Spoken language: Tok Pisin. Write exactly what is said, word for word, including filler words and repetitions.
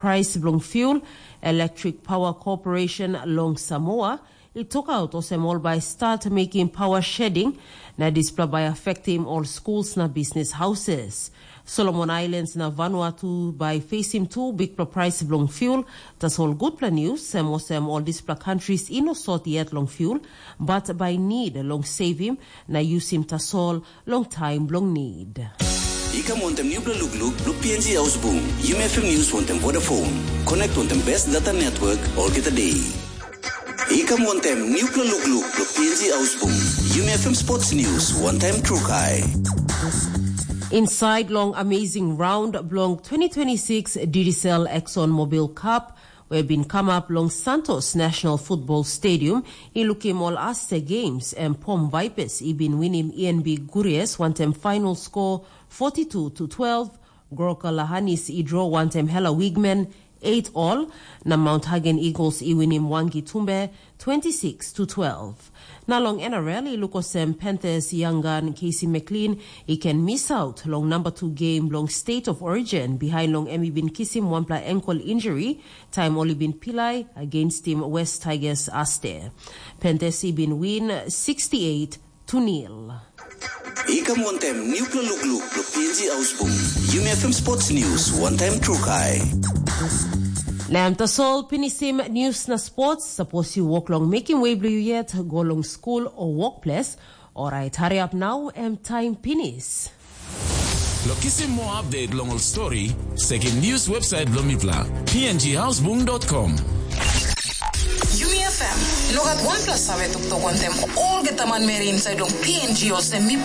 prais bilong fuel, Electric Power Corporation long Samoa i tokaut olsem ol bai start mekim power shedding, na dispela bai affectim ol schools na business houses. Solomon Islands na Vanuatu bai facing tu bikpela prais bilong fuel, tasol gutpela news em olsem ol dispela countries i no sot yet long fuel, but bai need long saving na yusim tasol long taim bilong need. I kam wantem nupela lukluk bilong P N G Ausbung, Yumi F M News wantem Vodafone. Connect wantem best data network olgeta day. I kam wantem nupela lukluk bilong P N G Ausbung, Yumi F M Sports News wantem Trukai. Inside long amazing round bilong twenty twenty-six Digicel Exxon Mobil Cup, we bin come up long Santos National Football Stadium, i lukim ol Aste Games em Pom Vipers i bin winim E N B Guries wantem final score forty-two to twelve, Groka Lahanis i draw wantem Hela Wigman eight all, na Mount Hagen Eagles i winim Wangi Tumbe twenty-six to twelve. Na long N R L i luk olsem Panthers Yangan Casey McLean i ken misaut long number two game bilong State of Origin behind long em i bin kisim wanpela ankle injury taim ol i bin pilai against tim West Tigers Aste. Panthers i bin win sixty-eight to nil. I kam wantem nupela lukluk bilong P N G Ausbung, Yumi F M Sports News wantem Trukai. Na em tasol pinisim news na sports, sapos yu wok long mekim wei bilong yu yet, go long skul o wokples, orait hariap nau em taim pinis. Lo kisim moa update long ol stori, sekim news website bilong mipela, p n g housebung dot com. Yumi F M, no gat wanpela save toktok wantem olgeta manmeri inside long P N G olsem mipela.